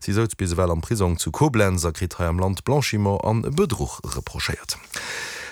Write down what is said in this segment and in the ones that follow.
Si souz bis ewell am Prisong zu Koblenz a kritt hei am Land Blanchiment an Bedruch reprochéiert.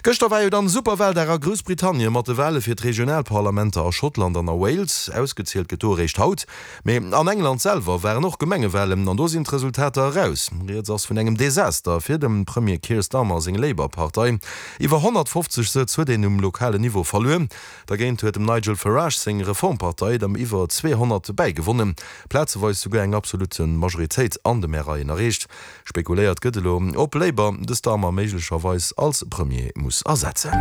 Gëschter war jo dann Superwaldag a Groussbritannien mat de Wale fir d'Regionalparlamenter a Schottland an a Wales. Ausgezielt gëtt do eréischt haut. Mee an England selwer waren och Gemengewalen an do sinn d'Resultater eraus. Rieds ass vun engem Desaster fir dem Premier Keir Starmer seng Labour-Partei. Iwwer 150 Sëtz huet een um lokalen Niveau verluer. Dergéint huet dem Nigel Farage seng Reformpartei der iwwer 200 bäigewonnen, plazeweis souguer eng absolut Majoritéit an de Maireien erreecht. Spekuléiert gëtt elo, ob Labour de Starmer méiglecherweis als Premier muss ersetzen.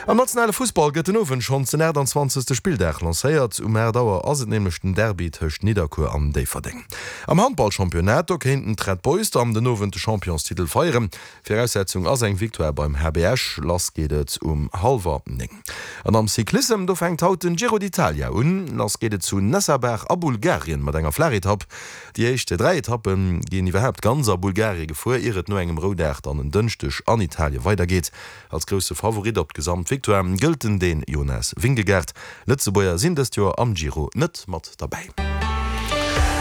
Am nationale Fussball gëtt den Owend schonns den 28. Spilldag lancéiert. Um 8 Auer ass et nämlech den Derby tëscht Nidderkuer an Déifferdeng. Am Handballchampionnat, do kéinten d'Red Boys dann den Owend de Championstitel feieren. Viraussetzung ass eng Victoire beim HB Esch. Lass geet et um hallwer 9. An am Cyclissem, do fänkt haut den Giro d'Italia un. Lass geet et zu Nessebar a Bulgarien mat enger Flaachetapp. Déi éischt 3 Etappe ginn iwwerhaapt ganz a Bulgarie gefuer, ier et no engem Roudag dann en Dënschdeg an Italie weidergeet. Als grousse Favorit op d'Gesamtvictoire gëllt den Dän Jonas Vingegaard. Lëtzebuerger sinn dëst Joer am Giro net mat derbäi.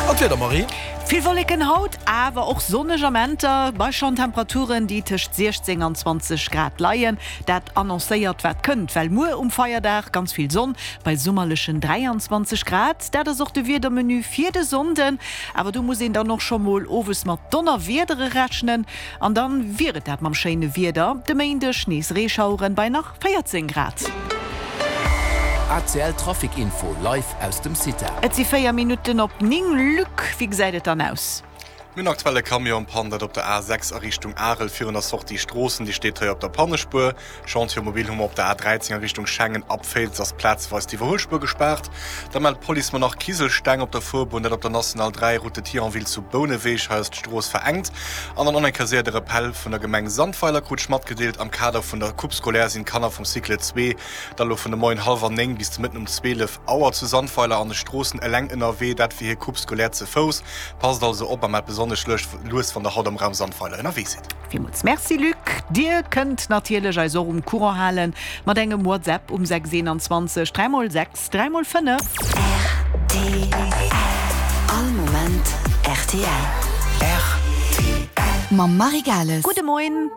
An d'Wieder, Marie? Vill Wolleken haut, awer och sonneg Amenter bei schonn Temperaturen, déi tëscht 16 an 20 Grad leien. Dat annoncéiert wat kënnt, well muer um Feierdag ganz vill Sonn bei summerlechen 23 Grad. Dat ass och de Wiedermenu fir de Sonnden, awer do muss een dann och scho mol owes mat Donnerwiedere rechnen. An dann wier et dat mam schéine Wieder. De Méindeg nees Reeschaueren bei nach 14 Grad. ACL Trafic Info live aus dem CITA. Et si 4 Minutten op 9. Luc, wéi gesäit et dann aus? Mir hunn aktuell e Camion en panne, dat op der A6 a Richtung Arel virun der Sortie Stroossen. Déi steet hei op der Pannespuer. Chantier mobile hu mer op der A13 a Richtung Schengen. Ab Féiz ass plazeweis d'Iwwerhuelspuer gespaart. Da mellt d'Police mer nach Kiselsteng op der Fuerbunn, dat op der National 3, Route de Thionville zu Bouneweg. Hei ass d'Strooss verengt. An dann och eng Kéier séier de Rappel vun der Gemeng Sandweiler krut ech matgedeelt, Am Kader vun der Coupe scolaire sinn d'Kanner vum Cycle 2 da lo vun de Moien hallwer 9 bis de Mëtten um 12 Auer zu Sandweiler an de Stroossen eleng ënnerwee, dat fir hir Coupe scolaire ze Fouss. Passt also op a maacht besonnesch lues, wann der haut am Raum Sandweiler ënnerwee sidd. Villmools Merci Luc. Dir kënnt natierlech eis och um Courant halen mat engem WhatsApp um 6 21 3 x 6 3 x 5. Rtl. All Moment rtl. Rtl. Mam Marie Gales. Gudde Moien.